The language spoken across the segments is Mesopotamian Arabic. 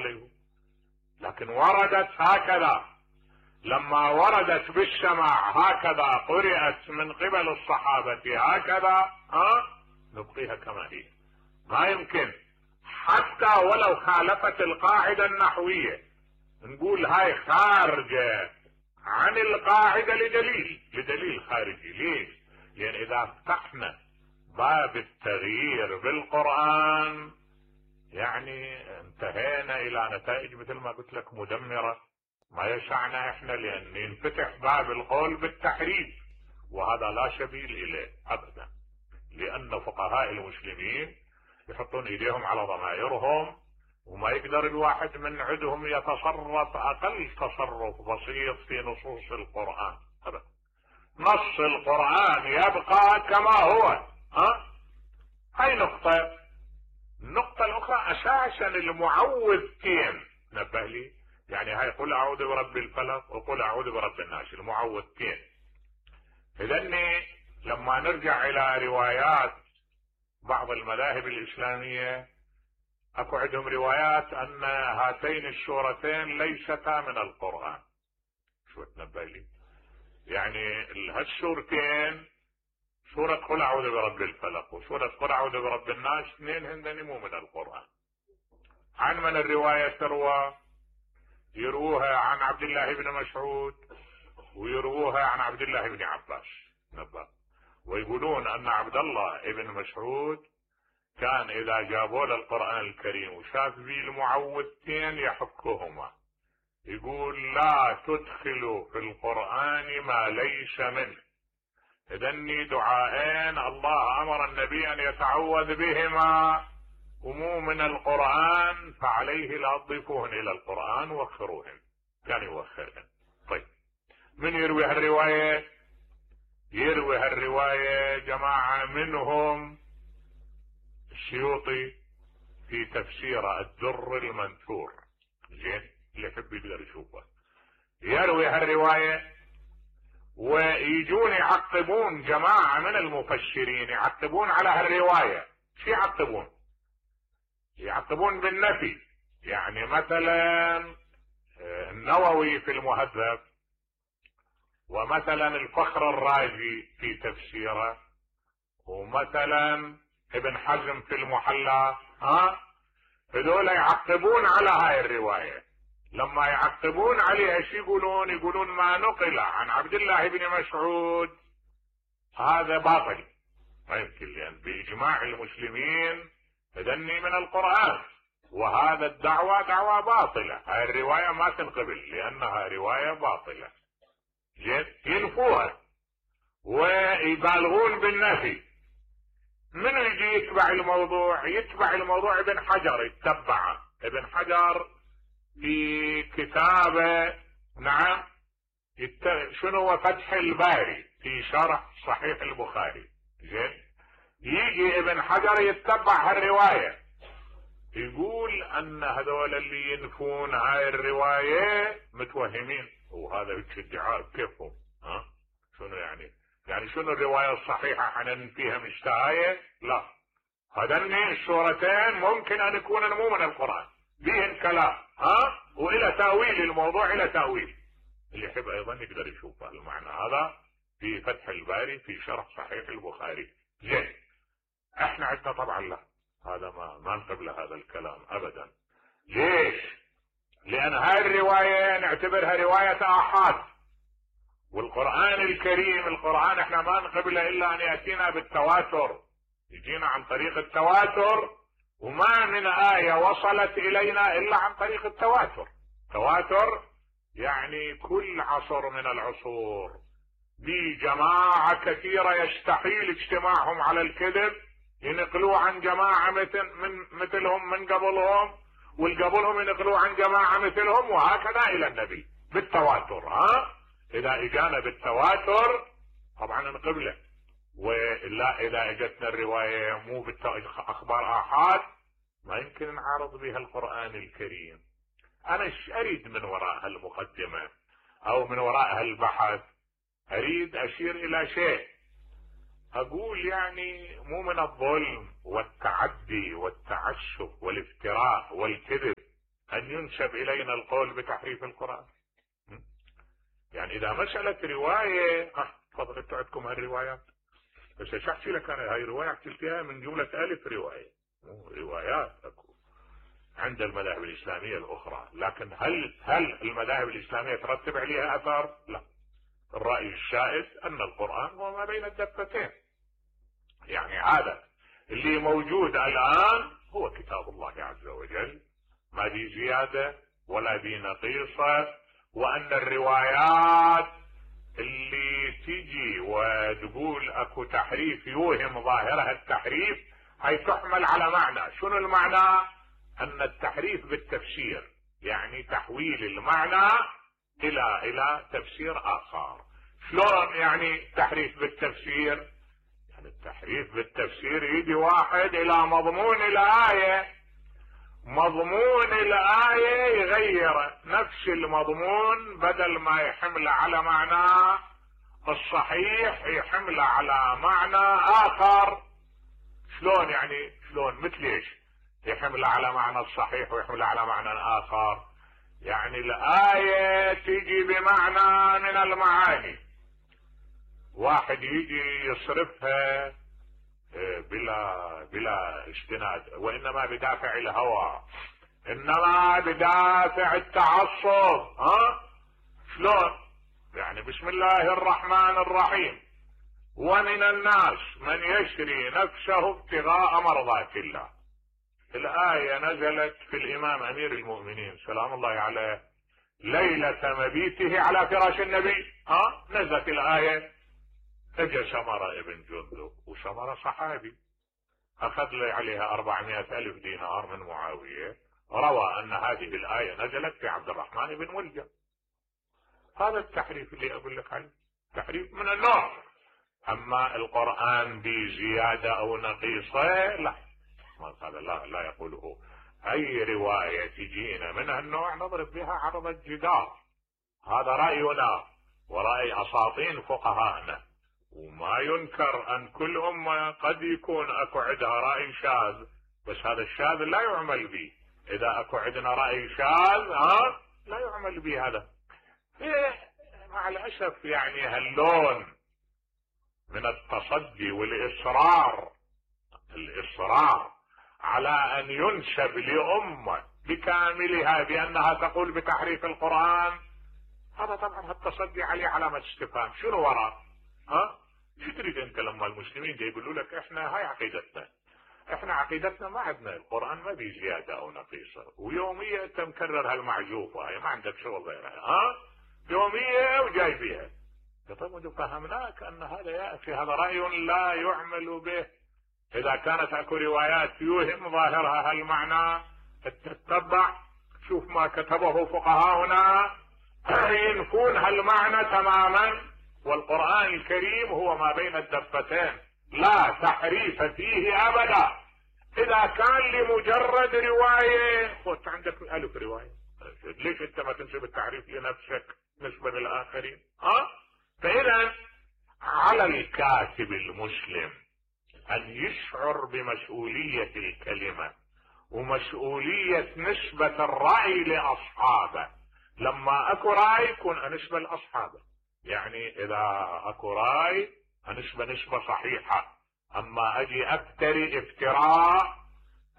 عليه، لكن وردت هكذا، لما وردت بالسماع هكذا قرأت من قبل الصحابة هكذا نبقيها كما هي. ما يمكن حتى ولو خالفت القاعدة النحوية نقول هاي خارجة عن القاعدة لدليل خارجي. ليش؟ لأن إذا فتحنا باب التغيير بالقرآن يعني انتهينا إلى نتائج مثل ما قلت لك مدمرة. ما يسعنا احنا لأن ينفتح باب القول بالتحريف، وهذا لا سبيل إليه أبدا، لأن فقهاء المسلمين يحطون إيديهم على ضمائرهم وما يقدر الواحد من عندهم يتصرف أقل تصرف بسيط في نصوص القرآن أبدا. نص القرآن يبقى كما هو. هاي نقطة. النقطة الأخرى أساسا المعوذتين، نبه لي، يعني هاي قل أعوذ برب الفلق وقل أعوذ برب الناس، المعوذتين. إذن لما نرجع إلى روايات بعض المذاهب الإسلامية أكو عندهم روايات أن هاتين السورتين ليستا من القرآن. شو تنبه لي؟ يعني هالسورتين سورة قل أعوذ برب الفلق وسورة قل أعوذ برب الناس اثنين هندني مو من القرآن. عن من الرواية تروى؟ يروها عن عبد الله بن مسعود ويروها عن عبد الله بن عباس نبه، ويقولون أن عبد الله بن مسعود كان إذا جابوا له القرآن الكريم وشاف به المعوذتين يحكهما، يقول لا تدخلوا في القرآن ما ليس منه. إذن دعاءين الله أمر النبي أن يتعوذ بهما ومو من القرآن، فعليه لا تضيفوهن إلى القرآن وخروهن، كان يوخرهن. طيب من يروي هالرواية؟ يروي هالرواية جماعة منهم السيوطي في تفسير الدر المنثور، زين اللي يحب يقدر يشوفه، يروي هالرواية ويجون يعقبون جماعة من المفسرين يعقبون على هالرواية. شو يعقبون؟ يعقبون بالنفي. يعني مثلا النووي في المهذب، ومثلا الفخر الرازي في تفسيره، ومثلا ابن حزم في المحلى، هذول يعقبون على هاي الرواية. لما يعقبون عليها شو يقولون؟ يقولون ما نقل عن عبد الله بن مسعود هذا باطل، ما يمكن، لأن بإجماع المسلمين تدني من القرآن، وهذا الدعوة دعوة باطلة. هاي الرواية ما تنقبل لأنها رواية باطلة. ينفوها ويبالغون بالنفي. من يجي يتبع الموضوع؟ يتبع الموضوع ابن حجر، يتبعه ابن حجر في كتابه، نعم، شنو هو فتح الباري في شرح صحيح البخاري. زين يجي ابن حجر يتبع هالرواية، يقول ان هذول اللي ينفون هاي الرواية متوهمين، وهذا ادعاء كيفهم؟ شنو يعني؟ يعني شنو الرواية الصحيحة حننفيها مشتهاية؟ لا، هذين السورتين ممكن ان يكون مو من القرآن، بهن كلام والى تأويل الموضوع، الى تأويل. اللي يحب ايضا يقدر يشوف المعنى هذا في فتح الباري في شرح صحيح البخاري. زين احنا عندنا طبعا لا، هذا ما نقبل هذا الكلام ابدا. ليش؟ لان هاي الرواية نعتبرها رواية آحاد، والقرآن الكريم، القرآن احنا ما نقبله الا ان يأتينا بالتواتر، يجينا عن طريق التواتر، وما من آية وصلت الينا الا عن طريق التواتر. تواتر يعني كل عصر من العصور بجماعة كثيرة يستحيل اجتماعهم على الكذب ينقلوا عن جماعة مثلهم من قبلهم، والقبلهم ينقلوا عن جماعة مثلهم، وهكذا الى النبي بالتواتر. اذا اجانا بالتواتر طبعا نقبله، ولا اذا اجتنا الرواية مو اخبار آحاد ما يمكن نعارض بها القرآن الكريم. انا اريد من وراء هالمقدمة او من وراء هالبحث اريد اشير الى شيء، اقول يعني مو من الظلم والتعدي والتعسف والافتراء والكذب ان ان ينسب الينا القول بتحريف القرآن. يعني اذا مسألة رواية تفضل انتوا عندكم هالروايات، بس ايش احكي لك انا؟ هاي رواية حكيت فيها من جملة 1000 رواية، روايات اكو عند المذاهب الاسلامية الاخرى، لكن هل المذاهب الاسلامية ترتب عليها اثر؟ لا. الرأي الشائع ان القرآن هو ما بين الدفتين، يعني هذا اللي موجود الان هو كتاب الله عز وجل، ما بي زيادة ولا بي نقيصة، وان الروايات اللي تيجي وتقول اكو تحريف يوهم ظاهرها التحريف هي تحمل على معنى. شنو المعنى؟ ان التحريف بالتفسير، يعني تحويل المعنى الى تفسير اخر. شلون يعني تحريف بالتفسير؟ يعني التحريف بالتفسير يجي واحد الى مضمون الايه، مضمون الايه يغير نفس المضمون، بدل ما يحمله على معناه الصحيح يحمله على معنى اخر. شلون يعني؟ شلون؟ مثل ايش يحمله على معنى الصحيح ويحمله على معنى اخر؟ يعني الايه تيجي بمعنى من المعاني، واحد يجي يصرفها بلا استناد، وانما بدافع الهوى، انما بدافع التعصب. شلون يعني؟ بسم الله الرحمن الرحيم، ومن الناس من يشري نفسه ابتغاء مرضات الله. الآية نزلت في الإمام أمير المؤمنين سلام الله عليه ليلة مبيته على فراش النبي. نزلت الآية، اجى سمرة ابن جندب، وسمرة صحابي، اخذ لي عليها 400,000 دينار من معاوية، روى ان هذه الآية نزلت في عبد الرحمن بن ملجم. هذا التحريف اللي اقول لك عنه، تحريف من النوع. اما القرآن بزيادة او نقيصة لا، هذا لا يقوله. اي رواية تجينا من هالنوع نضرب بها عرض الجدار. هذا رأينا ورأي اساطين فقهاءنا، وما ينكر ان كل امة قد يكون اكو عندها رأي شاذ، بس هذا الشاذ لا يعمل به. اذا اكو عندنا رأي شاذ لا يعمل به. هذا مع الاسف يعني هاللون من التصدي والاصرار على ان ينسب لأمة بكاملها بانها تقول بتحريف القرآن، هذا طبعا التصدي عليه علامة استفهام. شنو وراء؟ شو تريد انت لما المسلمين يقولوا لك احنا هاي عقيدتنا، احنا عقيدتنا ما عندنا القرآن ما بي زيادة او نقيصة، ويومية انت مكرر هالمعجوفة هاي، ما عندك شغل غيرها، يومية وجاي فيها. طيب فهمناك ان هذا يا اخي هذا رأي لا يعمل به. اذا كانت اكو روايات يوهم ظاهرها هالمعنى تتبع، شوف ما كتبه فقهاؤنا ينفون هالمعنى تماما. والقرآن الكريم هو ما بين الدفتين، لا تحريف فيه ابدا. اذا كان لمجرد رواية، خذ عندك 1000 رواية، ليش انت ما تنسب التحريف لنفسك نسبة للآخرين؟ فإذا على الكاتب المسلم ان يشعر بمسؤولية الكلمة ومسؤولية نسبة الرأي لأصحابه. لما اكو رأي يكون انسبة لأصحابه، يعني اذا اكو رأي نسبة صحيحة. اما اجي افتري افتراء،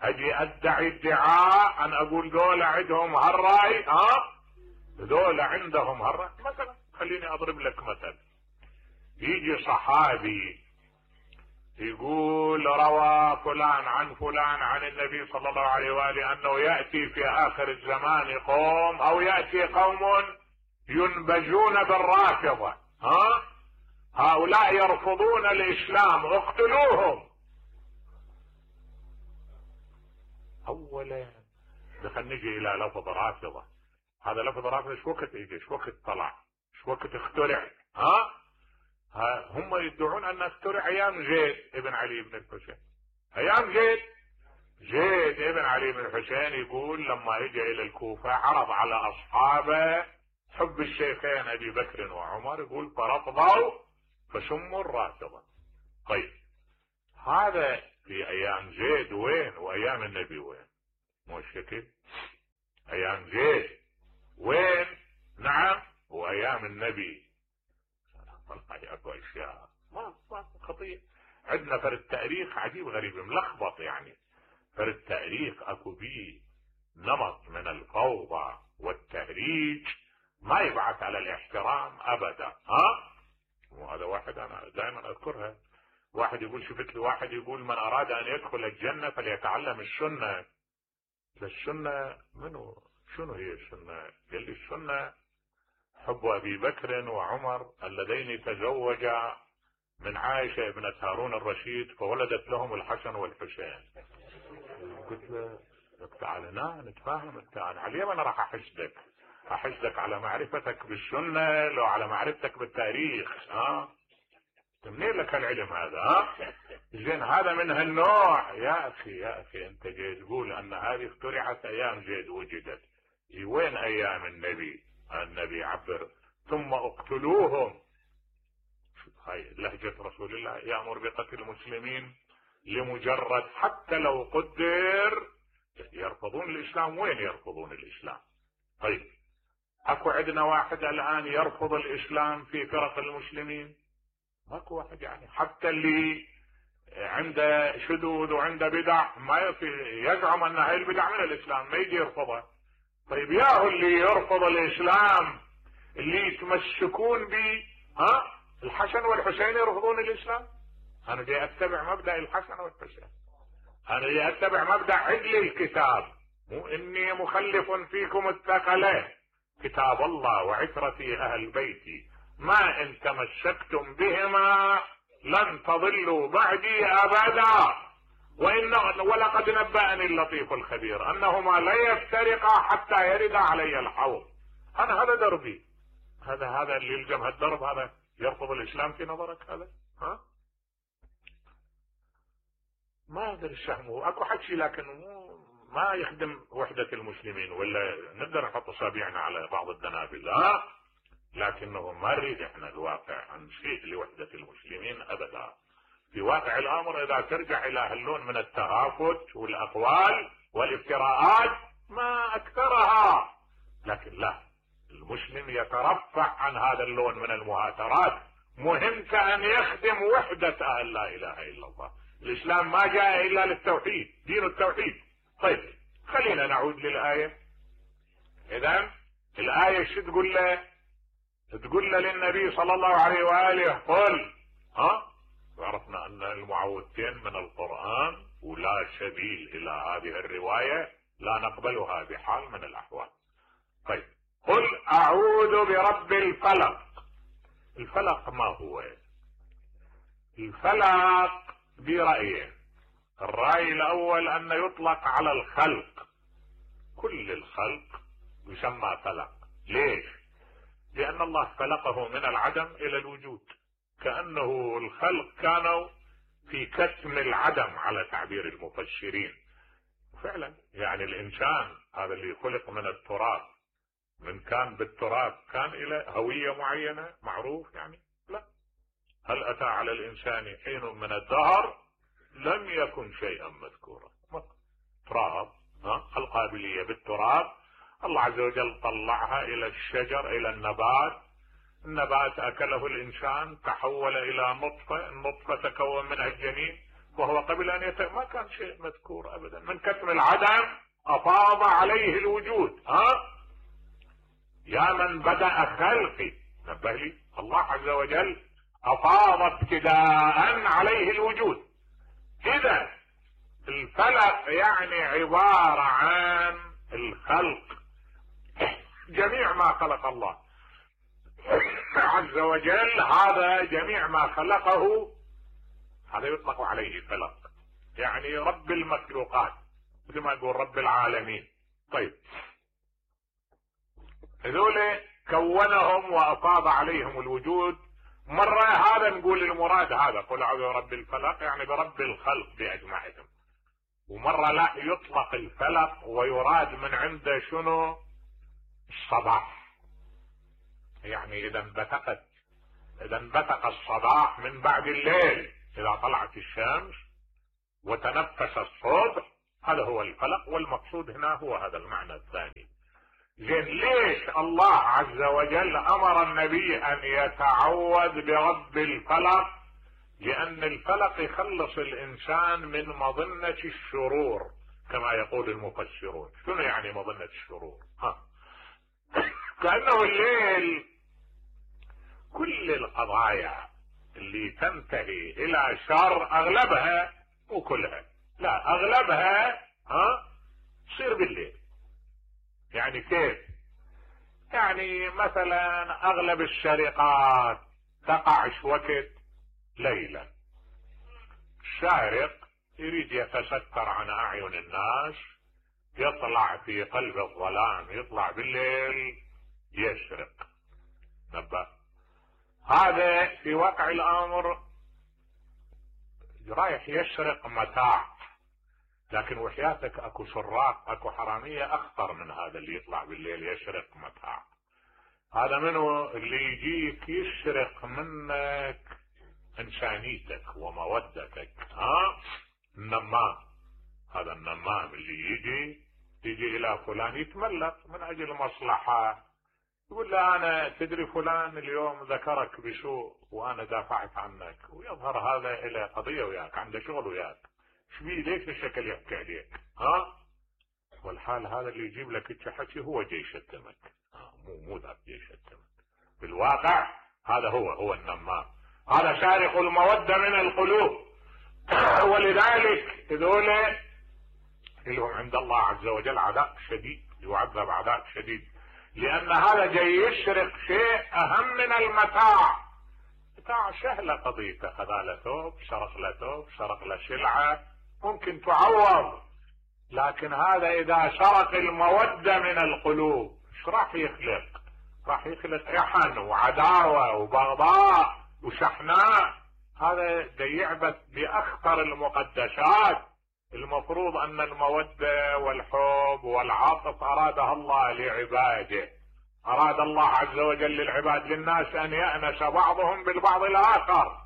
اجي ادعي ادعاء ان اقول دول عندهم هالرأي، دول عندهم هالرأي. مثلا خليني اضرب لك مثل، يجي صحابي يقول روى فلان عن فلان عن النبي صلى الله عليه وآله انه يأتي في اخر الزمان قوم، او يأتي قوم ينبجون بالرافضة، هؤلاء يرفضون الاسلام اقتلوهم. اولا خلينا نجي الى لفظ رافضة. هذا لفظ رافضة ايش وقت يجي، ايش وقت طلع، ايش وقت اخترع؟ هم يدعون ان اخترع ايام زيد ابن علي بن الحسين. ايام زيد ابن علي بن الحسين يقول لما اجى الى الكوفة عرض على اصحابه حب الشيخين ابي بكر وعمر، يقول فرفضوا فسموا الرافضة. طيب هذا في ايام زيد وين، وايام النبي وين؟ مو الشكل. ايام زيد. وين؟ نعم، وايام النبي. والله اكو اشياء ما خطير عندنا. فرد تاريخ عجيب غريب ملخبط يعني. فرد تاريخ اكو بيه نمط من الفوضى والتهريج ما يبعث على الاحترام ابدا. وهذا واحد انا دائما اذكرها. واحد يقول شفت لي واحد يقول من اراد ان يدخل الجنة فليتعلم السنة. السنة منو؟ شنو هي السنة؟ قال لي السنة حب ابي بكر وعمر اللذين تزوجا من عائشة ابنة هارون الرشيد فولدت لهم الحسن والحسين. قلت له تعال نتفاهم. انا على انا راح احسدك على معرفتك بالسنة لو على معرفتك بالتاريخ. منين لك العلم هذا؟ زين هذا من هالنوع. يا اخي انت جاي تقول ان هذه اخترعت ايام زيد وجدت. وين ايام النبي؟ النبي عبر ثم اقتلوهم. هاي لهجة رسول الله يأمر بقتل المسلمين لمجرد حتى لو قدر يرفضون الاسلام. وين يرفضون الاسلام؟ طيب اكو عندنا واحد الان يرفض الاسلام في فرق المسلمين؟ ماكو واحد يعني. حتى اللي عنده شذوذ وعنده بدع ما يزعم ان هاي البدع من الاسلام ما يجي يرفضها. طيب ياهو اللي يرفض الاسلام اللي يتمسكون به الحسن والحسين يرفضون الاسلام. انا جاي اتبع مبدأ الحسن والحسين. انا جاي اتبع مبدأ عدل الكتاب. مو اني مخلف فيكم الثقلين كتاب الله وعترتي اهل بيتي ما ان تمسكتم بهما لن تضلوا بعدي ابدا ولقد نبأني اللطيف الخبير انهما لا يفترقا حتى يرد علي الحوض. انا هذا دربي. هذا اللي يلزم هالدرب هذا يرفض الاسلام في نظرك هذا؟ ما ادري الشهم اكو حكي لكن ما يخدم وحدة المسلمين. ولا نقدر نحط اصابعنا على بعض الدنابل لكنه ما نريد احنا الواقع نشيء لوحدة المسلمين ابدا. في واقع الامر اذا ترجع الى هاللون من التغافت والاقوال والافتراءات ما اكثرها. لكن لا، المسلم يترفع عن هذا اللون من المهاترات. مهمته ان يخدم وحدة اهل لا اله الا الله. الاسلام ما جاء الا للتوحيد، دين التوحيد. طيب خلينا نعود للآية. اذا الآية شو تقول له؟ تقول له للنبي صلى الله عليه وآله قل. وعرفنا ان المعوذتين من القرآن ولا سبيل الى هذه الرواية لا نقبلها بحال من الاحوال. طيب قل اعوذ برب الفلق. الفلق ما هو؟ الفلق برأيين. الرأي الاول ان يطلق على الخلق. كل الخلق يسمى فلق. ليش؟ لان الله خلقه من العدم الى الوجود. كأنه الخلق كانوا في كتم العدم على تعبير المفسرين. فعلا يعني الانسان هذا اللي خلق من التراب، من كان بالتراب كان له هوية معينة معروف يعني؟ لا. هل اتى على الانسان حين من الدهر لم يكن شيئا مذكورا. تراب، القابلية بالتراب. الله عز وجل طلعها الى الشجر الى النبات اكله الانسان تحول الى نطفة، النطفة تكون منها الجنين وهو قبل ان ما كان شيء مذكور ابدا. من كتم العدم افاض عليه الوجود. يا من بدأ خلقي، نبه لي الله عز وجل افاض ابتداء عليه الوجود. اذا الفلق يعني عبارة عن الخلق، جميع ما خلق الله عز وجل. هذا جميع ما خلقه هذا يطلق عليه فلق، يعني رب المخلوقات مثل ما يقول رب العالمين. طيب هذول كونهم وافاض عليهم الوجود. مرة هذا نقول المراد هذا قل اعوذ برب الفلق يعني برب الخلق باجمعهم. ومرة لا، يطلق الفلق ويراد من عنده شنو؟ الصباح. يعني اذا انبثق الصباح من بعد الليل اذا طلعت الشمس وتنفس الصبح، هذا هو الفلق. والمقصود هنا هو هذا المعنى الثاني. زين ليش الله عز وجل امر النبي ان يتعوذ برب الفلق؟ لان الفلق يخلص الانسان من مظنة الشرور كما يقول المفسرون. شنو يعني مظنة الشرور؟ كأنه الليل كل القضايا اللي تنتهي الى شر اغلبها، مو كلها، لا اغلبها تصير بالليل. يعني كيف؟ يعني مثلا اغلب السرقات تقع وقت ليلا. السارق يريد يتستر عن اعين الناس، يطلع في قلب الظلام، يطلع بالليل يسرق. نبه هذا في واقع الامر رايح يسرق متاع، لكن وحياتك اكو سراق، اكو حرامية اخطر من هذا اللي يطلع بالليل يسرق متاع. هذا منه اللي يجيك يسرق منك انسانيتك ومودتك. النمام، هذا النمام اللي يجي الى فلان يتملق من اجل مصلحة، يقول له انا تدري فلان اليوم ذكرك بسوء وانا دافعت عنك، ويظهر هذا الى قضية وياك، عنده شغل وياك، شبيه ليش الشكل يحكي عليك؟ والحال هذا اللي يجيب لك حكي هو جاي يشتمك، مو ذاك جاي يشتمك. بالواقع هذا هو النمام، هذا سارق المودة من القلوب. ولذلك هذول لهم عند الله عز وجل عذاب شديد، يعذب عذاب شديد، لان هذا جاي يسرق شيء اهم من المتاع. متاع سهلة قضيته، خذ له ثوب، سرق له ثوب، سرق له سلعة، ممكن تعوض. لكن هذا اذا سرق المودة من القلوب ايش راح يخلق؟ راح يخلق يحن وعداوة وبغضاء وشحناء. هذا يعبث باخطر المقدسات. المفروض ان المودة والحب والعطف ارادها الله لعباده، اراد الله عز وجل للعباد للناس ان يأنس بعضهم بالبعض الاخر.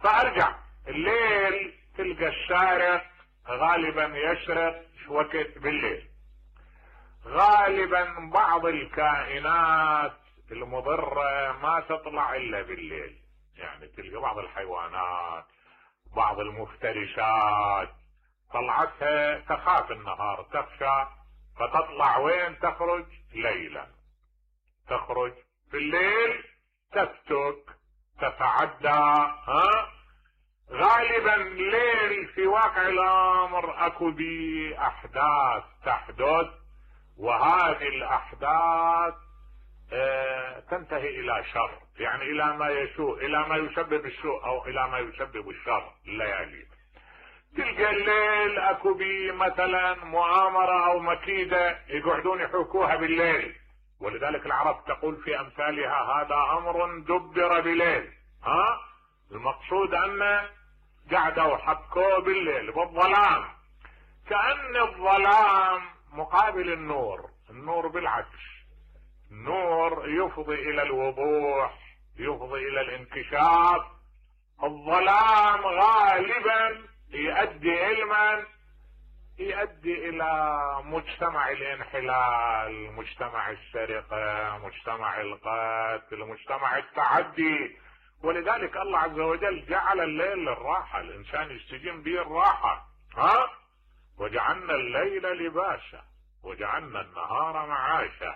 فارجع الليل تلقى السارق غالبا يسرق وقت بالليل. غالبا بعض الكائنات المضرة ما تطلع الا بالليل، يعني تلقى بعض الحيوانات، بعض المفترسات طلعتها تخاف النهار، تخشى، فتطلع وين؟ تخرج ليلا، تخرج في الليل، تفتك، تتعدى. غالبا الليل في واقع الامر اكو بي احداث تحدث، وهذه الاحداث تنتهي الى شر، يعني الى ما يسوء، الى ما يسبب السوء او الى ما يسبب الشر. الليالي تلقى الليل اكو بي مثلا مؤامرة او مكيدة يقعدون يحوكوها بالليل، ولذلك العرب تقول في امثالها هذا امر دبر بليل. المقصود ان قعدوا حكوه بالليل بالظلام، كأن الظلام مقابل النور. النور بالعكس، النور يفضي الى الوضوح، يفضي الى الانكشاف. الظلام غالبا يؤدي علما، يؤدي الى مجتمع الانحلال، مجتمع السرقة، مجتمع القتل، مجتمع التعدي. ولذلك الله عز وجل جعل الليل للراحة، الانسان يستجم به الراحة. وجعلنا الليل لباسا وجعلنا النهار معاشا.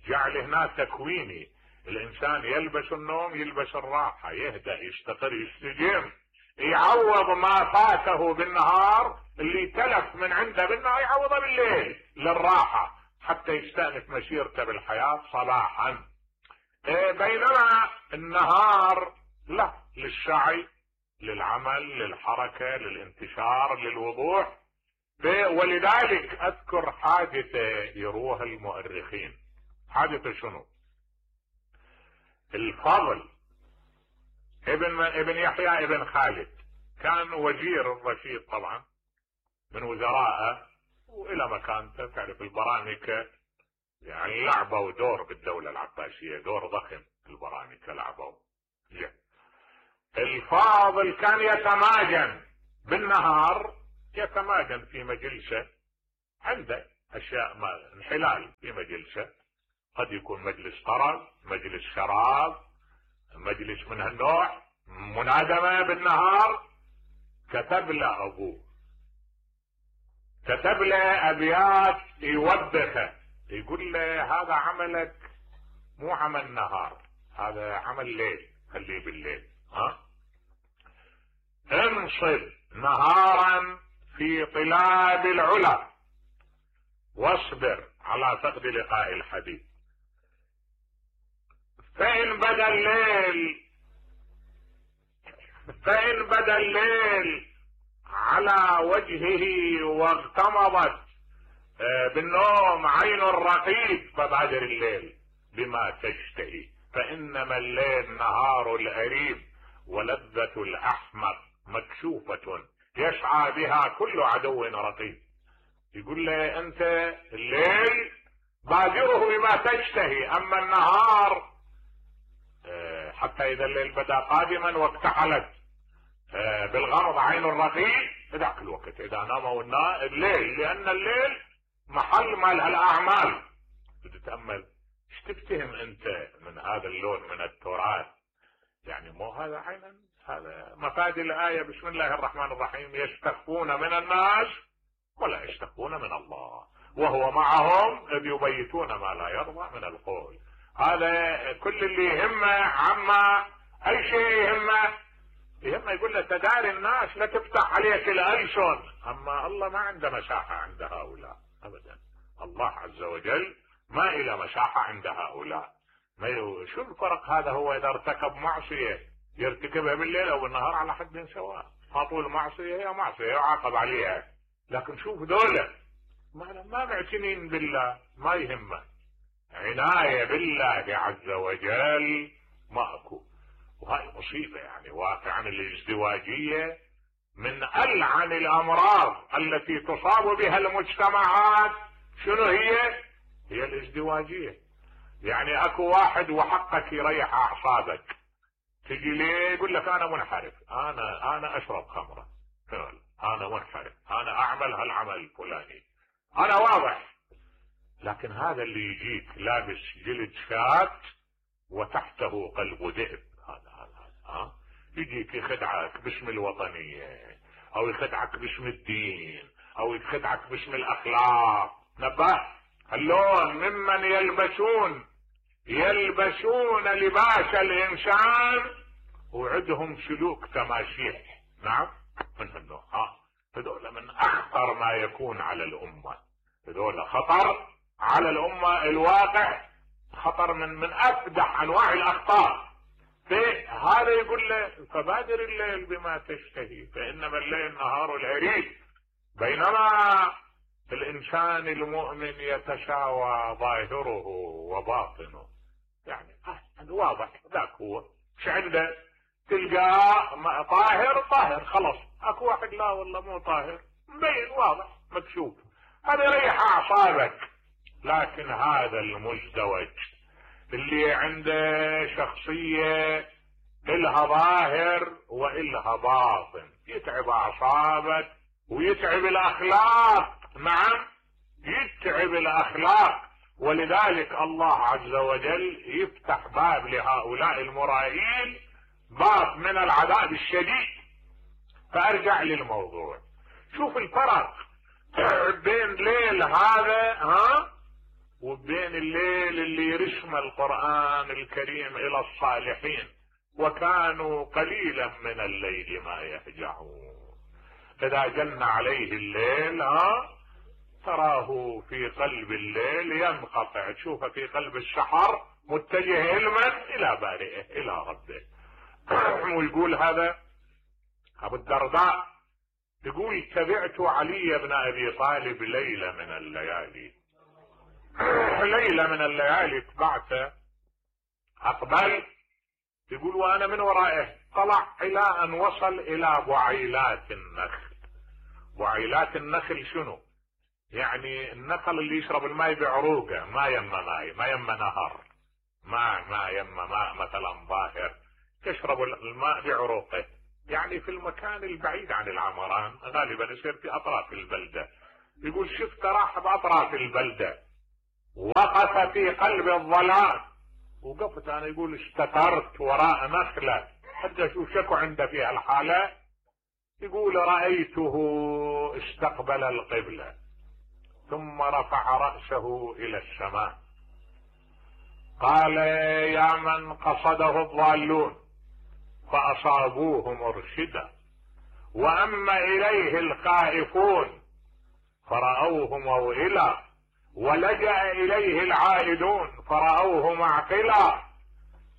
جعل هنا تكويني، الانسان يلبس النوم، يلبس الراحة، يهدأ، يستقر، يستجم، يعوض ما فاته بالنهار، اللي تلف من عنده بالنهار يعوضه بالليل للراحة حتى يستأنف مسيرته بالحياة صباحا. بينما النهار له للسعي، للعمل، للحركة، للانتشار، للوضوح. ولذلك اذكر حادثة يروها المؤرخين. حادثة شنو؟ الفضل ابن يحيى ابن خالد كان وزير الرشيد طبعا من وزرائه، والى مكانته تعرف البرانكة يعني لعبوا دور بالدولة العباسية، دور ضخم البرانكة لعبوا. الفاضل كان يتماجن بالنهار، يتماجن في مجلسه عنده اشياء ما انحلال في مجلسه، قد يكون مجلس طرب، مجلس شراب، مجلس من هالنوع، منادمة بالنهار. كتب له ابوه، كتب له ابيات يوبخه، يقول له هذا عملك مو عمل نهار، هذا عمل ليل، خليه بالليل. انصب نهارا في طلاب العلا واصبر على فقد لقاء الحبيب، فإن بدا الليل على وجهه واغتمضت بالنوم عين الرقيب فبادر الليل بما تشتهي، فإنما الليل نهار الأريب ولذة الأحمق مكشوفة يسعى بها كل عدو رقيب. يقول له أنت الليل بادره بما تشتهي، أما النهار حتى إذا الليل بدا قادما واكتحلت بالغرض عين الرقيب ذاك الوقت إذا ناموا الليل، لأن الليل محل مال الأعمال. تتأمل ايش تفتهم أنت من هذا اللون من التراث؟ يعني مو هذا عينا، هذا مفاد الآية بسم الله الرحمن الرحيم، يستخفون من الناس ولا يستخفون من الله وهو معهم إذ يبيتون ما لا يرضى من القول. هذا كل اللي يهمه عما أي شيء يهمه يقول له تداري الناس لا تفتح عليك الألسن، أما الله ما عنده مساحة عند هؤلاء أبدا. الله عز وجل ما إلى مساحة عند هؤلاء. شو الفرق هذا؟ هو إذا ارتكب معصية يرتكبها بالليل أو بالنهار على حد سواء، فطول معصية هي معصية يعاقب عليها. لكن شوف دولة ما معتنين بالله، ما يهمه، عناية بالله عز وجل ماكو. وهاي مصيبة يعني واقعا. الازدواجية من ألعن الأمراض التي تصاب بها المجتمعات. شنو هي الازدواجية. يعني اكو واحد وحقك يريح اعصابك، تجي ليه يقول لك انا منحرف، انا اشرب خمرة، انا منحرف، انا اعمل هالعمل الفلاني، انا واضح. لكن هذا اللي يجيك لابس جلد شات وتحته قلب ذئب، هذا يجيك يخدعك باسم الوطنية او يخدعك باسم الدين او يخدعك باسم الاخلاق. نبه اللون ممن يلبسون لباس الانسان وعندهم سلوك تماسيح. نعم من النوع هذول من اخطر ما يكون على الامة، هذول خطر على الامة. الواقع خطر من افدح انواع الاخطار. هذا يقول له فبادر الليل بما تشتهي فانما الليل نهار العريب، بينما الانسان المؤمن يتساوى ظاهره وباطنه. يعني واضح ذاك هو مش عنده، تلقاه طاهر خلص، اكو واحد لا والله مو طاهر، مبين واضح مكشوف، هذا يريح اعصابك. لكن هذا المزدوج اللي عنده شخصية إلها ظاهر وإلها باطن يتعب أعصابك ويتعب الأخلاق. نعم يتعب الأخلاق. ولذلك الله عز وجل يفتح باب لهؤلاء المرائين، باب من العذاب الشديد. فأرجع للموضوع، شوف الفرق بين ليل هذا وبين الليل اللي رسم القرآن الكريم إلى الصالحين، وكانوا قليلا من الليل ما يهجعون. إذا جن عليه الليل تراه في قلب الليل ينقطع، تشوفه في قلب السحر متجه علما إلى بارئه إلى ربه. ويقول هذا أبو الدرداء يقول تبعت علي بن أبي طالب ليلة من الليالي تبعته أقبل، يقول وأنا من ورائه طلع إلى أن وصل إلى بعيلات النخل. بعيلات النخل شنو؟ يعني النخل اللي يشرب الماء بعروقه، ما يم نهر، ما يم ماء مثلا ظاهر، تشرب الماء بعروقه، يعني في المكان البعيد عن العمران، غالبا يصير في أطراف البلدة. يقول شفت راح بأطراف البلدة، وقف في قلب الظلام، وقفت انا يقول استترت وراء نخلة حتى اشوف شكو عنده في هالحالة. يقول رأيته استقبل القبلة ثم رفع رأسه الى السماء، قال يا من قصده الضالون فأصابوه مرشدا، وأما إليه الخائفون فرأوه موئلا، ولجأ إليه العائدون فرأوه معقلا.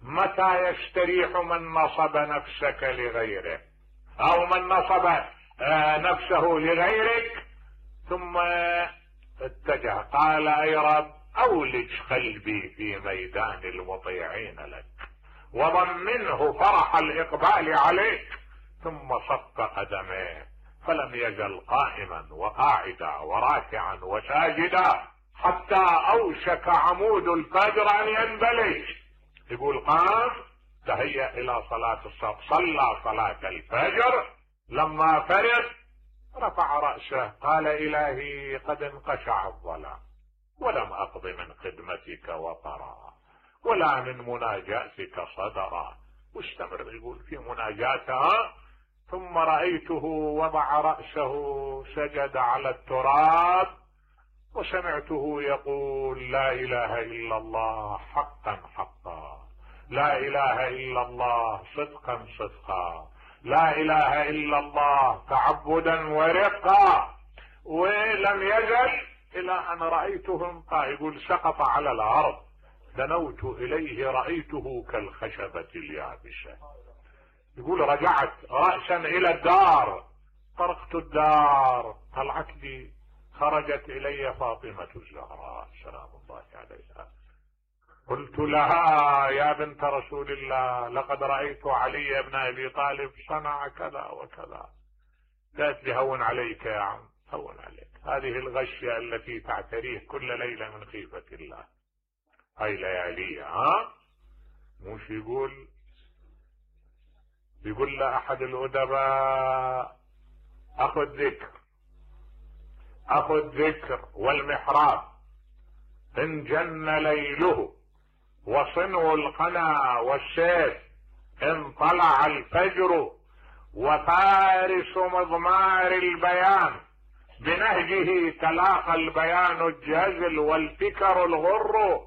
متى يستريح من نصب نفسك لغيره أو من نصب نفسه لغيرك؟ ثم اتجه قال أي رب أولج قلبي في ميدان المطيعين لك، وضمنه فرح الإقبال عليك. ثم صف قدميه فلم يزل قائما وقاعدا وراكعا وساجدا حتى أوشك عمود الفجر أن ينبلج. يقول قام تهيأ إلى صلاة الصبح، صلى صلاة الفجر، لما فرغ رفع رأسه قال إلهي قد انقشع الظلام ولم أقض من خدمتك وطرا ولا من مناجاتك صدرا. واستمر يقول في مناجاتها. ثم رأيته وضع رأسه سجد على التراب، وسمعته يقول لا إله إلا الله حقا حقا، لا إله إلا الله صدقا صدقا، لا إله إلا الله تعبدا ورقا. ولم يزل إلى أن رأيته انقى، يقول سقط على الأرض، دنوت إليه رأيته كالخشبة اليابسة. يقول رجعت رأسا إلى الدار، طرقت الدار، طلعت لي، خرجت إلي فاطمة الزهراء سلام الله عليها. قلت لها يا بنت رسول الله لقد رأيت علي بن أبي طالب صنع كذا وكذا. قالت لي هون عليك يا عم، هون عليك، هذه الغشية التي تعتريه كل ليلة من خيفة الله، هاي لياليها. مش يقول له أحد الأدباء أخذ ذكر والمحراب إن جن ليله، وصنو القنا والسيف إن طلع الفجر، وفارس مضمار البيان بنهجه تلاقى البيان الجازل والفكر الغر،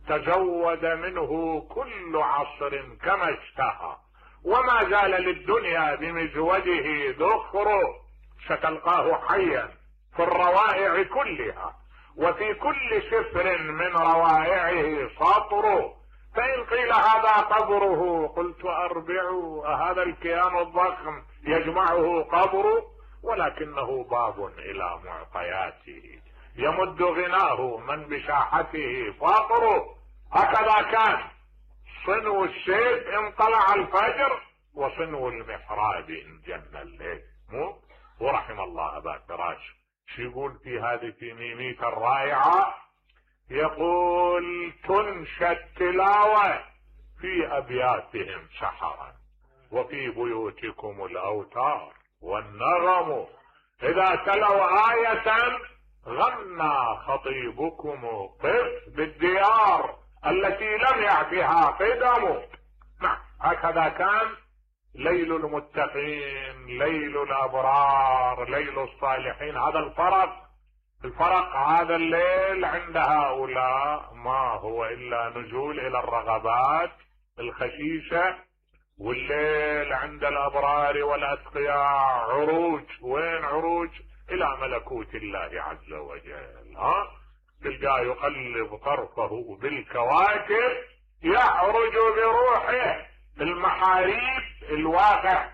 تزود منه كل عصر كما اشتهى، وما زال للدنيا بمزوجه ذخر، ستلقاه حيا في الروائع كلها، وفي كل سفر من روائعه سطر. فإن قيل هذا قبره قلت أربع، هذا الكيان الضخم يجمعه قبر، ولكنه باب إلى معطياته يمد غناه من بساحته فاقر. هكذا كان صنو السيف إن طلع الفجر، وصنو المحراب إن جن الليل. ورحم الله أبا فراش شو يقول في هذه في ميميته الرائعة؟ يقول تنشى التلاوة في أبياتهم سحرا، وفي بيوتكم الأوتار والنغم، إذا تلوا آية غنى خطيبكم قف بالديار التي لم يعفها قدم. نعم هكذا كان ليل المتقين، ليل الأبرار، ليل الصالحين. هذا الفرق هذا الليل عند هؤلاء ما هو إلا نزول إلى الرغبات الخسيسة، والليل عند الأبرار والأتقياء عروج. وين عروج؟ إلى ملكوت الله عز وجل. تلقاه يقلب طرفه بالكواكب، يعرج بروحه المحاريب الواقع.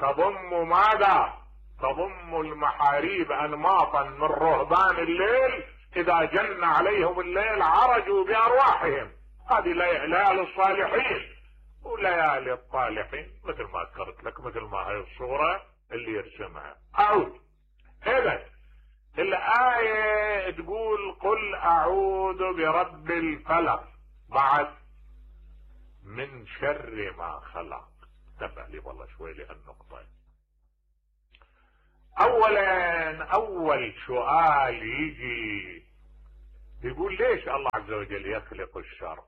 تضم ماذا؟ تضم المحاريب أنماطا من رهبان الليل، إذا جن عليهم الليل عرجوا بأرواحهم. هذه ليالي الصالحين وليالي الطالحين، مثل ما ذكرت لك، مثل ما هي الصورة اللي يرسمها. إذا الآية تقول قل أعوذ برب الفلق، بعد من شر ما خلق. تبع لي والله شوي لهالنقطة. اولا اول سؤال يجي يقول ليش الله عز وجل يخلق الشر؟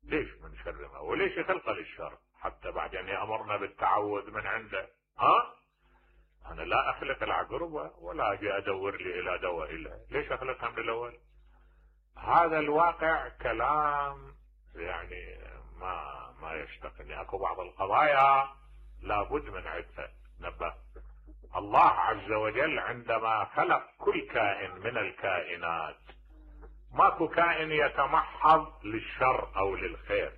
ليش من شر ما وليش يخلق للشر حتى بعدين يأمرنا بالتعوذ من عنده؟ انا لا اخلق العقربة ولا اجي ادور لي الى دواء له، ليش اخلقها من الاول؟ هذا الواقع كلام يعني ما يشتقني. اكو بعض القضايا لابد من عدها نبه. الله عز وجل عندما خلق كل كائن من الكائنات ماكو كائن يتمحض للشر او للخير،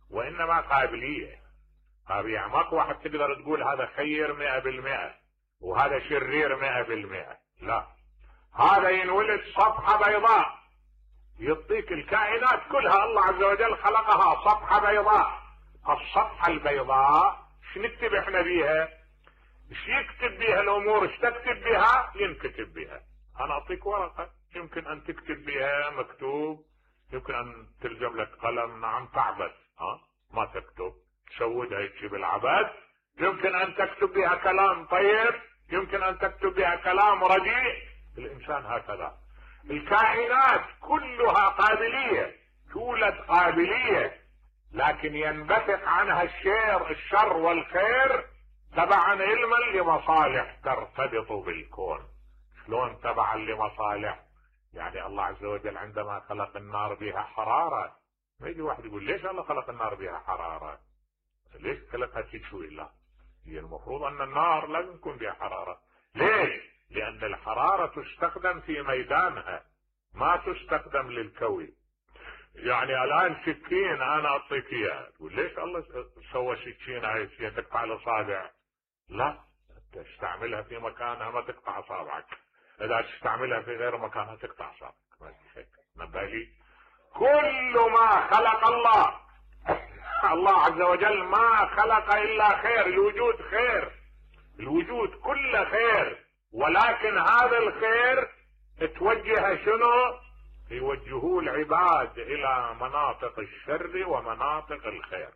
وانما قابلية. يعني ماكو واحد تقدر تقول هذا خير 100% وهذا شرير 100%، لا، هذا ينولد صفحة بيضاء يعطيك الكائنات كلها الله عز وجل خلقها صفحة بيضاء. الصفحة البيضاء شنكتب احنا بيها؟ ايش يكتب بيها الامور؟ ايش تكتب بيها؟ ينكتب بيها. انا اعطيك ورقة يمكن ان تكتب بيها مكتوب، يمكن ان تلزم لك قلم، نعم تعبث، ما تكتب، تسودها هيك بالعبث. يمكن ان تكتب بها كلام طيب، يمكن ان تكتب بها كلام رديء. الانسان هكذا، الكائنات كلها قابلية، تولد قابلية، لكن ينبثق عنها الشر والخير تبعا علما لمصالح ترتبط بالكون. شلون تبعا لمصالح؟ يعني الله عز وجل عندما خلق النار بها حرارة، ما يجي واحد يقول ليش الله خلق النار بها حرارة؟ ليش خلقها تشوي؟ لا، هي المفروض ان النار لازم يكون بها حرارة. ليش؟ لان الحرارة تستخدم في ميدانها، ما تستخدم للكوي. يعني الان سكين انا اعطيك اياه، تقول ليش الله سوى سكينة هي تقطع الاصابع؟ لا، تستعملها في مكانها ما تقطع اصابعك، اذا تستعملها في غير مكانها تقطع اصابعك. نبالي كل ما خلق الله عز وجل ما خلق الا خير. الوجود خير، الوجود كله خير، ولكن هذا الخير توجه شنو؟ يوجهوه العباد الى مناطق الشر ومناطق الخير.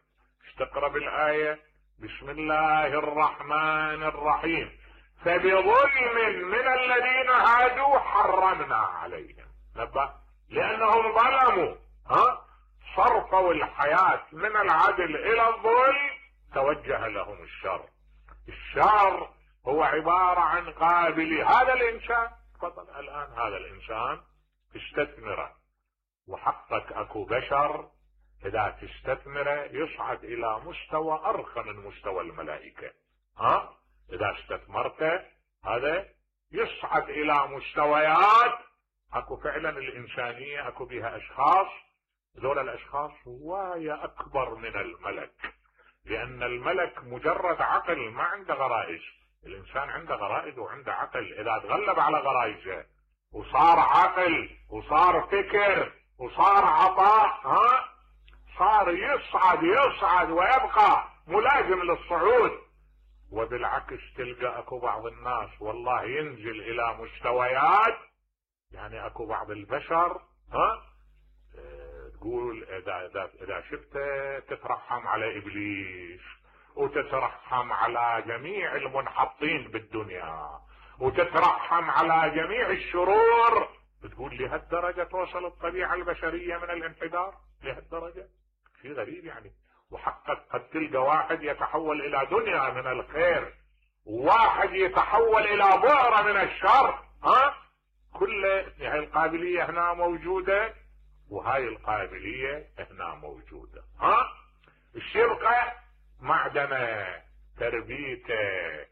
تقرأ بالآية بسم الله الرحمن الرحيم فبظلم من الذين هادوا حرمنا عليهم. نبه، لانهم ظلموا، صرفوا الحياة من العدل الى الظلم، توجه لهم الشر. الشر هو عبارة عن قابلي. هذا الانسان تفضل الان، هذا الانسان تستثمره، وحقك اكو بشر اذا تستثمره يصعد الى مستوى ارقى من مستوى الملائكة. اذا استثمرته هذا يصعد الى مستويات. اكو فعلا الانسانية اكو بها اشخاص، ذول الاشخاص هواية اكبر من الملك، لان الملك مجرد عقل ما عنده غرائز. الانسان عنده غرائز وعنده عقل، اذا تغلب على غرائزه وصار عقل وصار فكر وصار عطاء، صار يصعد ويبقى ملازم للصعود. وبالعكس تلقى اكو بعض الناس والله ينزل الى مستويات، يعني اكو بعض البشر تقول اذا شفته تترحم على ابليس وتترحم على جميع المنحطين بالدنيا وتترحم على جميع الشرور. بتقول لهالدرجة توصل الطبيعة البشرية من الانحدار؟ لهالدرجة؟ شيء غريب يعني. وحقك قد تلقى واحد يتحول الى دنيا من الخير، وواحد يتحول الى بؤرة من الشر. كل هاي القابلية هنا موجودة وهاي القابلية هنا موجودة. الشرقة معدنة، تربيته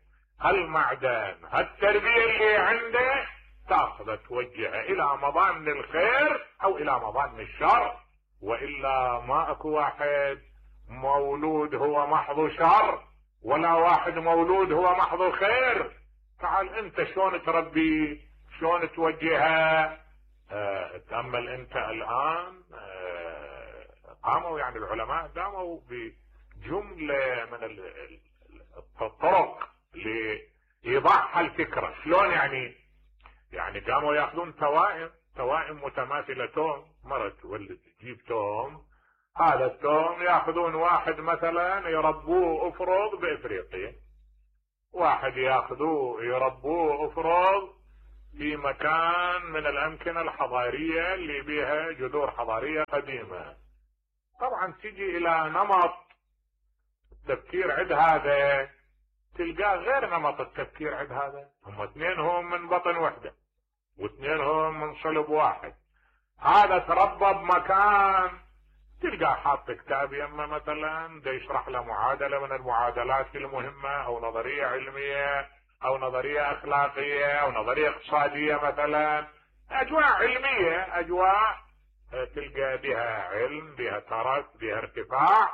المعدن، هالتربية اللي عنده تاخذ توجهه الى مظان الخير او الى مظان الشر. والا ما اكو واحد مولود هو محض شر ولا واحد مولود هو محض خير. تعال انت شلون تربي، شلون توجهه. تأمل انت الان قاموا يعني العلماء قاموا بجملة من الطرق لإيضاح الفكرة. شلون يعني قاموا ياخذون توائم متماثلة، توم مرة تولد تجيب توم، هذا التوم ياخذون واحد مثلا يربوه افرض بافريقيا، واحد ياخذوه يربوه افرض في مكان من الامكنة الحضارية اللي بيها جذور حضارية قديمة، طبعا تجي الى نمط التفكير عند هذا تلقاه غير نمط التفكير عند هذا. هم اثنينهم من بطن وحدة واثنينهم من صلب واحد. هذا تربى بمكان تلقاه حاط كتاب يمه مثلا دا يشرح له معادلة من المعادلات المهمة او نظرية علمية او نظرية اخلاقية او نظرية اقتصادية مثلا، اجواء علمية، اجواء تلقى بها علم، بها ترك، بها ارتفاع.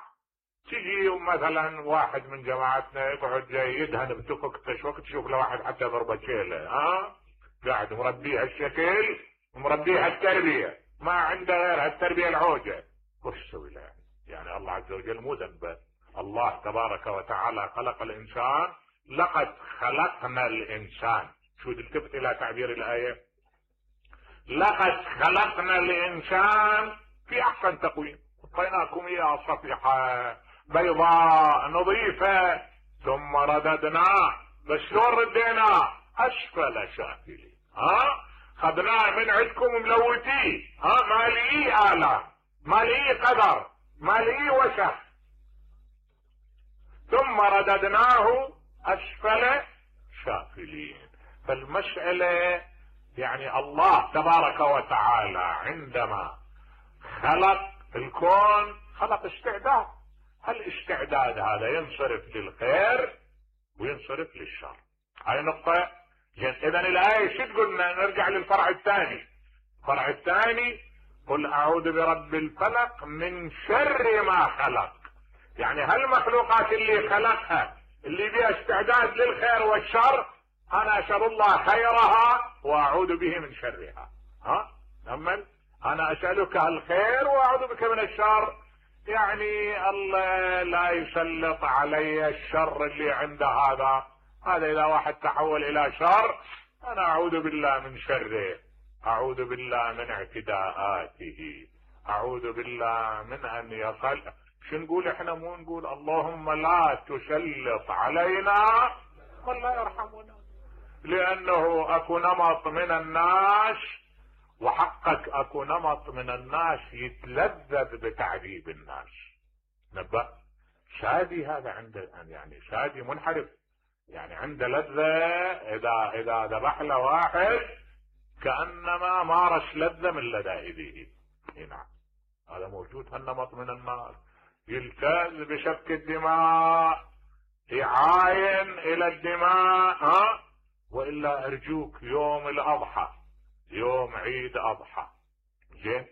تجي مثلا واحد من جماعتنا يقعد جاي يدهن بتفك تشوك، تشوف له واحد حتى ضربة شيله قاعد مربيه هالشكل ومربيه هالتربية، ما عنده غير هالتربية العوجة. وش يسوي له يعني؟ الله عز وجل مو ذنبه. الله تبارك وتعالى خلق الانسان، لقد خلقنا الانسان، شو التفت الى تعبير الايه، لقد خلقنا الانسان في احسن تقويم، اعطيناكم اياه صفيحه بيضاء نظيفه ثم رددناه، بس شلون رديناه؟ اسفل سافلين. خذناه من عندكم ملوتيه، ما لقيه آلام، ما لقيه قدر، ما لقيه وسخ، ثم رددناه اسفل سافلين. فالمسألة يعني الله تبارك وتعالى عندما خلق الكون خلق استعداد، الاستعداد هذا ينصرف للخير وينصرف للشر. هاي نقطة. اذا الآية شو تقولنا؟ نرجع للفرع الثاني. الفرع الثاني قل اعوذ برب الفلق من شر ما خلق. يعني هالمخلوقات اللي خلقها اللي بها استعداد للخير والشر، انا اسأل الله خيرها واعوذ به من شرها. تأمل، انا اسألك الخير واعوذ بك من الشر. يعني الله لا يسلط علي الشر اللي عند هذا اذا واحد تحول الى شر انا اعوذ بالله من شره، اعوذ بالله من اعتداءاته، اعوذ بالله من ان يصل. شو نقول احنا؟ مو نقول اللهم لا تسلط علينا من لا يرحمنا، لانه اكو نمط من الناس، وحقك اكو نمط من الناس يتلذذ بتعذيب الناس. نبأ شادي هذا عنده، يعني شادي منحرف، يعني عنده لذة اذا ذبح له واحد كأنما مارس لذة من لذائذه. نعم، هذا موجود هالنمط من الناس، يلتز بسفك الدماء، يعاين الى الدماء. والا ارجوك يوم الاضحى، يوم عيد اضحى، زين،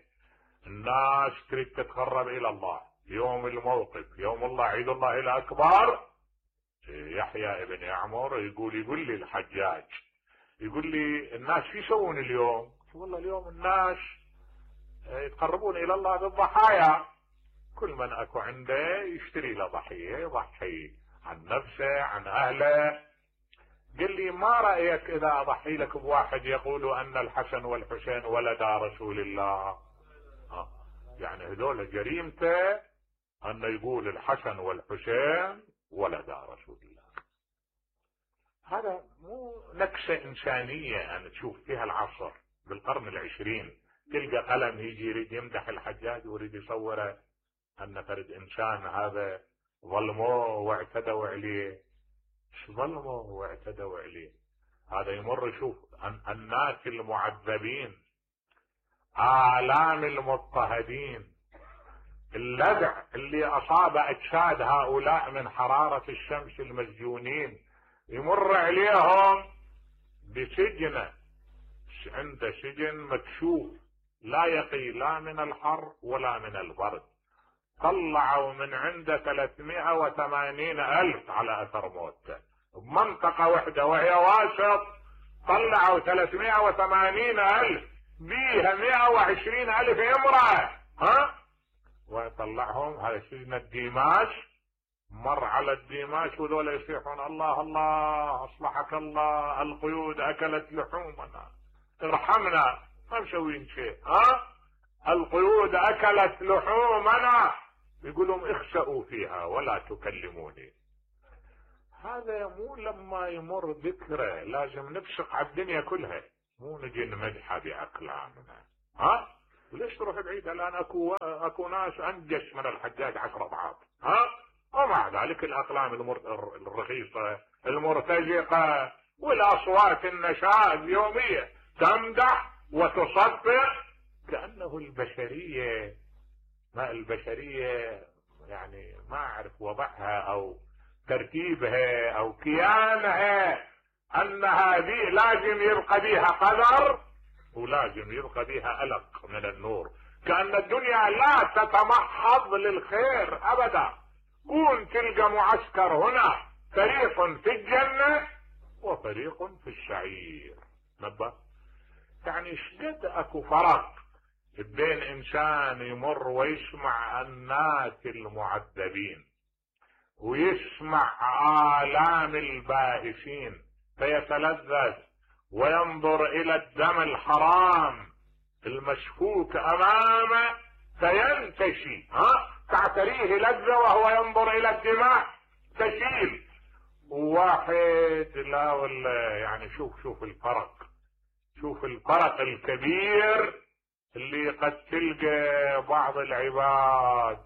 الناس تريد تتقرب الى الله، يوم الموقف، يوم الله، عيد الله الاكبر. يحيى ابن يعمر يقول لي الحجاج، يقول لي الناس شو يسوون اليوم؟ والله اليوم الناس يتقربون الى الله بالضحايا، كل من اكو عنده يشتري له ضحية، يضحي عن نفسه عن اهله. قال لي ما رأيك اذا اضحي لك بواحد يقول ان الحسن والحسين ولدا رسول الله؟ يعني هذول جريمته ان يقول الحسن والحسين ولدا رسول الله. هذا مو نكسة انسانية ان تشوف فيها العصر بالقرن العشرين. تلقى قلم يجي يريد يمدح الحجاج ويريد يصوره ان فرد انسان هذا ظلموه واعتدوا عليه. ايش ظلموه واعتدوا عليه؟ هذا يمر يشوف الناس المعذبين، آلام المضطهدين، اللذع اللي اصاب اجساد هؤلاء من حرارة الشمس المسجونين، يمر عليهم بسجن، عند سجن مكشوف لا يقي لا من الحر ولا من البرد. طلعوا من عنده 380,000 على اثر موته بمنطقة واحدة وهي واسط، طلعوا 380,000 بيها 120,000 امرأة. ويطلعهم هذا سجن الديماش. مر على الديماش وذولا يصيحون الله الله اصلحك الله، القيود اكلت لحومنا، ارحمنا، ما مسوين شيء. القيود اكلت لحومنا، يقولون اخسئوا فيها ولا تكلموني. هذا مو لما يمر ذكره لازم نبشق على الدنيا كلها، مو نجي نمدحه باقلامنا. ليش تروح بعيد؟ الان اكو ناس انجش من الحجاج 10 اضعاف. ومع ذلك الاقلام الرخيصه المرتجقه والاصوات النشاز يوميه تمدح وتصفق، كانه البشريه، ما البشريه يعني ما اعرف وضعها او ترتيبها او كيانها، ان هذه لازم يبقى بها قدر ولازم يبقى بها ألق من النور، كأن الدنيا لا تتمحض للخير أبدا. كون تلقى معسكر هنا فريق في الجنة وفريق في السعير. نبه يعني شقد اكو فرق بين انسان يمر ويسمع الناس المعذبين ويسمع آلام البائسين فيتلذذ وينظر الى الدم الحرام المسفوك امامه فينتشي، تعتريه لذة وهو ينظر الى الدماء تسيل. واحد لا ولا يعني شوف الفرق الكبير اللي قد تلقى بعض العباد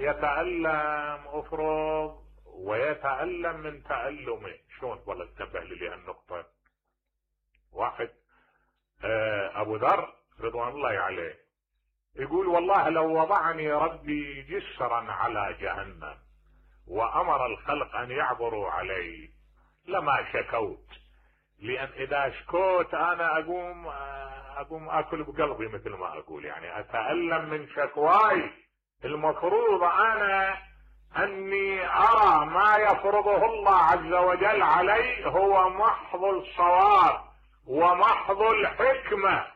يتألم افرض ويتألم من تألمه. شلون؟ والله انتبه لي هالنقطة. واحد ابو ذر رضوان الله عليه يقول والله لو وضعني ربي جسرا على جهنم وامر الخلق ان يعبروا علي لما شكوت، لان اذا شكوت انا اقوم اكل بقلبي مثل ما اقول، يعني اتألم من شكواي. المفروض انا اني ارى ما يفرضه الله عز وجل علي هو محض الصواب ومحض الحكمة.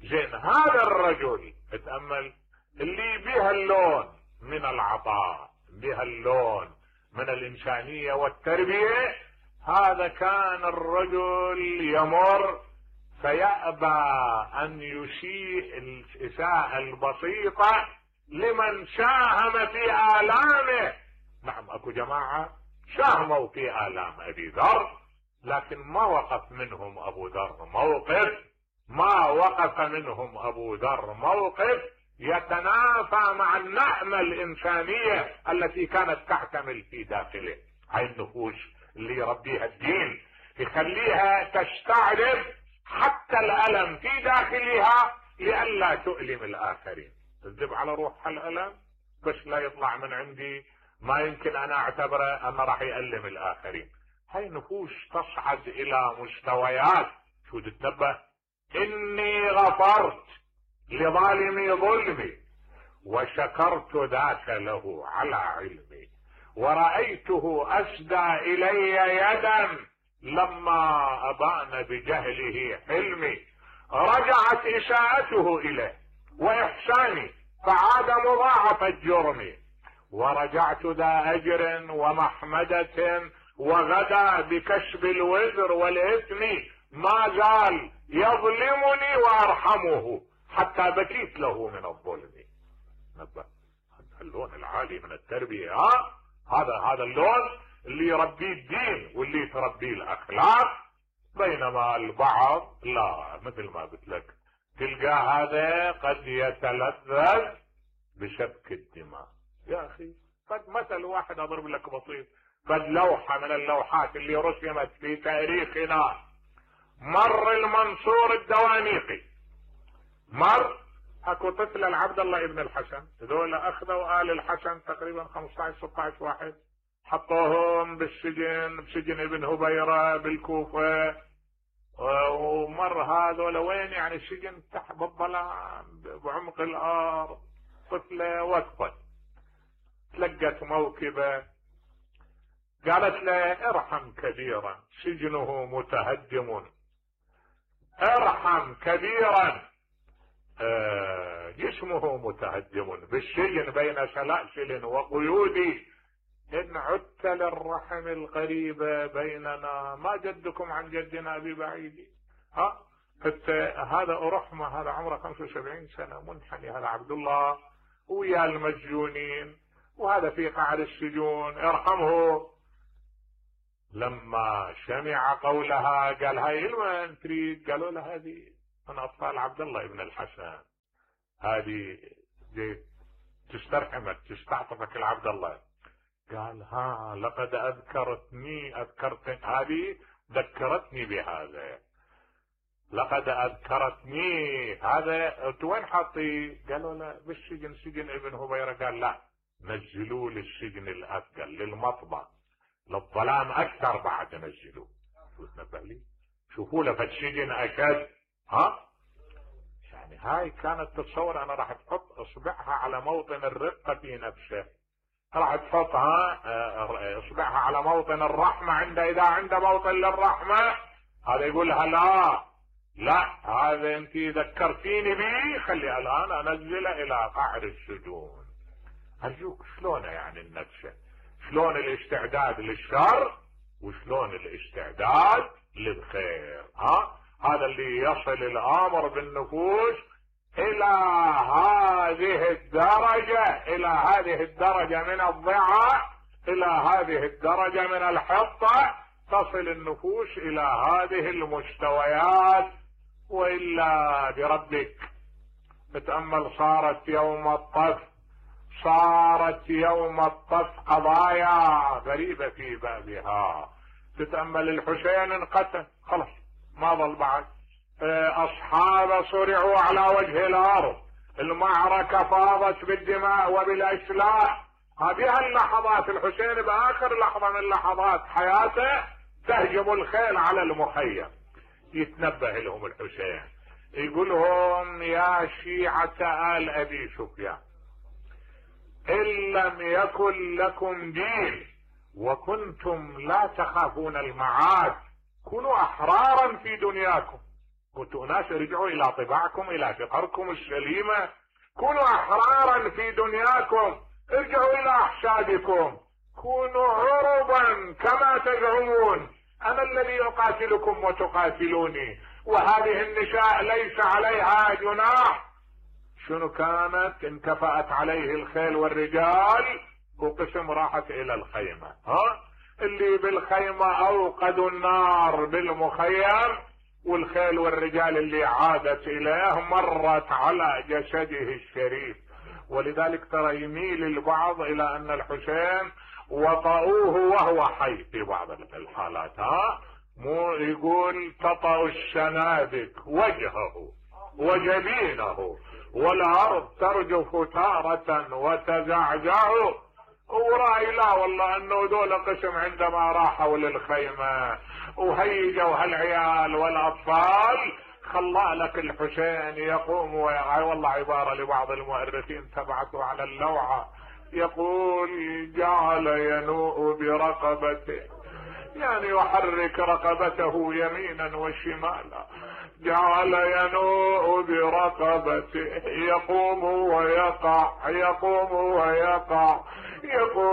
زين هذا الرجل اتأمل اللي بها اللون من العطاء، بها اللون من الإنسانية والتربية، هذا كان الرجل يمر فيأبى أن يسيء الإساءة البسيطة لمن ساهم في آلامه. نعم أكو جماعة ساهموا في آلام أبي ذر لكن ما وقف منهم أبو ذر موقف يتنافى مع النعمة الإنسانية التي كانت تحتمل في داخله. هاي النفوس اللي يربيها الدين يخليها تستعرض حتى الألم في داخلها لئلا تؤلم الآخرين. تذب على روحها الألم بس لا يطلع من عندي ما يمكن أنا أعتبره أنه راح يألم الآخرين. هاي نفوس تصعد إلى مستويات شو تتنبه: إني غفرت لظالمي ظلمي وشكرت ذاك له على علمي ورأيته أسدى إلي يدا لما أبان بجهله حلمي. رجعت إساءته إليه وإحساني فعاد مضاعف الجرم ورجعت ذا أجر ومحمدة وغدا بكسب الوزر والإثم ما زال يظلمني وأرحمه حتى بكيت له من الظلم. نبه اللون العالي من التربية. هذا اللون اللي يربيه الدين واللي تربيه الأخلاق. بينما البعض لا، مثل ما قلت لك تلقى هذا قد يتلذذ بسفك الدماء. يا أخي قد مثل واحد أضرب لك بسيط، قد لوحة من اللوحات اللي رسمت في تاريخنا مر المنصور الدوانيقي، اكو طفل العبد الله ابن الحسن، هذول اخذوا آل الحسن تقريبا 15-16 واحد حطوهم بسجن ابن هبيرة بالكوفة، ومر هذول وين يعني السجن تحت بالظلام بعمق الارض. طفلة وقفت تلقت موكبة قالت له ارحم كبيرا سجنه متهدم، ارحم كبيرا جسمه متهدم بالسجن بين سلاسل وقيود، إن عدت للرحم القريبة بيننا ما جدكم عن جدنا ببعيد. هذا أرحمة، هذا عمره 75 سنة منحني، هذا عبد الله ويا المسجونين وهذا في قعر السجون ارحمه. لما سمع قولها قال هاي لمن تريد؟ قالوا له هذه من اطفال عبد الله ابن الحسن، هذه تسترحمك تستعطفك العبد الله. قال ها لقد اذكرتني هذه ذكرتني بهذا، لقد اذكرتني هذا. وين حاطيه؟ قالوا له بالسجن، سجن ابن هبيرة. قال لا، نزلوه للسجن الاثقل، للمطبع، للظلام اكثر بعد نزلوه. شو تنبه لي؟ شوفوا له فالسجن اشد. يعني هاي كانت تتصور انا راح تحط اصبعها على موطن الرقة في نفسه، راح تحطها اصبعها على موطن الرحمة اذا عنده موطن للرحمة، هذا يقول لها لا هذا انت ذكرتيني به، خلي الان انزله الى قعر السجون. ارجوك شلون يعني النفس، شلون الاستعداد للشر وشلون الاستعداد للخير. هذا اللي يصل الامر بالنفوس الى هذه الدرجة من الضعف، الى هذه الدرجة من الحطة، تصل النفوس الى هذه المستويات. والا بربك تتأمل، صارت يوم الطف قضايا غريبة في بابها. تتأمل الحسين انقتل، خلاص ما ظل بعد، اصحابه صرعوا على وجه الارض، المعركة فاضت بالدماء وبالاشلاء. هذه اللحظات الحسين باخر لحظة من لحظات حياته تهجم الخيل على المخيم. يتنبه لهم الحسين، يقول لهم يا شيعة آل ابي سفيان، ان لم يكن لكم دين وكنتم لا تخافون المعاد، كونوا احرارا في دنياكم. كنتوا ناس ارجعوا الى طباعكم، الى فطركم السليمة، كونوا احرارا في دنياكم، ارجعوا الى احشادكم، كونوا عربا كما تزعمون، انا الذي اقاتلكم وتقاتلوني، وهذه النساء ليس عليها جناح. شنو كانت؟ انكفأت عليه الخيل والرجال، وقسم راحت الى الخيمة. اللي بالخيمة اوقدوا النار بالمخيم، والخيل والرجال اللي عادت اليه مرت على جسده الشريف. ولذلك ترى يميل البعض الى ان الحسين وطأوه وهو حي في بعض الحالات. مو يقول تطأ السنابك وجهه وجبينه والارض ترجف تارة وتزعزع. ورأي لا والله انه دول قسم عندما راحوا للخيمة وهيجوا هالعيال والاطفال، خلى لك الحسين يقوم والله عبارة لبعض المؤرخين تبعثوا على اللوعة، يقول جعل ينوء برقبته، يعني يحرك رقبته يمينا وشمالا، جعل ينوء برقبته، يقوم ويقع يقوم ويقع، يقول